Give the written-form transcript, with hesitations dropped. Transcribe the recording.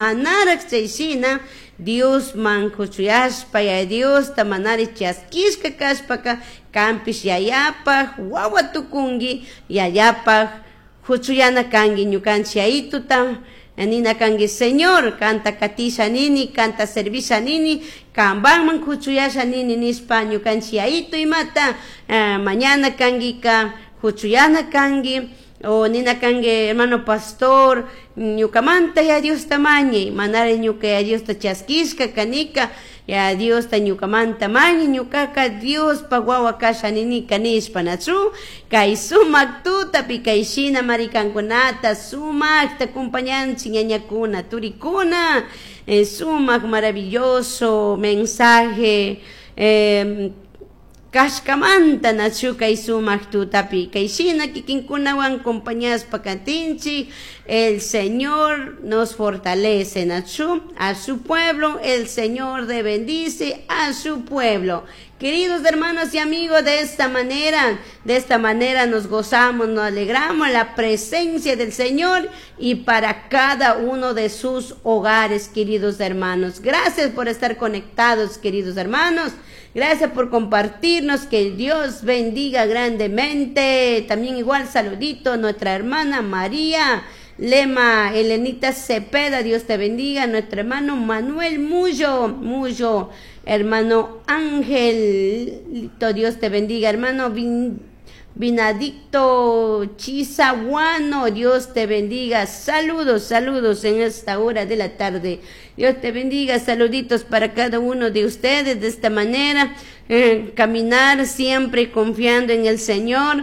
Manaraj chay shina Diosman kuchuyashpa, Yaya Diosta manari chaskishka kashpaka kanpish Yayapaj wawa tukunki, Yayapaj kuchuyana kanki. Ñukanchik Yayituta nina kanki: "Señor, kanta katisha nini, kanta servisha nini, kanpakman kuchuyasha nini" nishpa ñukanchik Yayitu imata mañana kankika, kuchuyana kanki. O nina kanki: "Hermano pastor, ñukamanta Yaya Diosta mañay, manari ñuka Yaya Diosta chaskishka kanika, Yaya Diosta ñukamanta mañay, ñukaka Diospaj wawa kasha ninika" nishpa, nachu? Kay sumak tutapi kay shina marikankunata sumakta acompañanchik, ñañakuna, turikuna, sumak maravilloso mensaje kashkamanta, nachu? Kay sumak tutapi kay shina kikinkunawan acompañashpa katinchik. El Señor nos fortalece, nachu? A su pueblo, el Señor de bendice a su pueblo. Queridos hermanos y amigos, de esta manera nos gozamos, nos alegramos la presencia del Señor y para cada uno de sus hogares, queridos hermanos. Gracias por estar conectados, queridos hermanos. Gracias por compartirnos. Que Dios bendiga grandemente. También igual saludito a nuestra hermana María Lema, Elenita Cepeda, Dios te bendiga. Nuestro hermano Manuel Mullo, Mullo, hermano Ángel, Dios te bendiga. Hermano Vinadicto Chizaguano, Dios te bendiga. Saludos, saludos en esta hora de la tarde. Dios te bendiga. Saluditos para cada uno de ustedes de esta manera. Caminar siempre confiando en el Señor.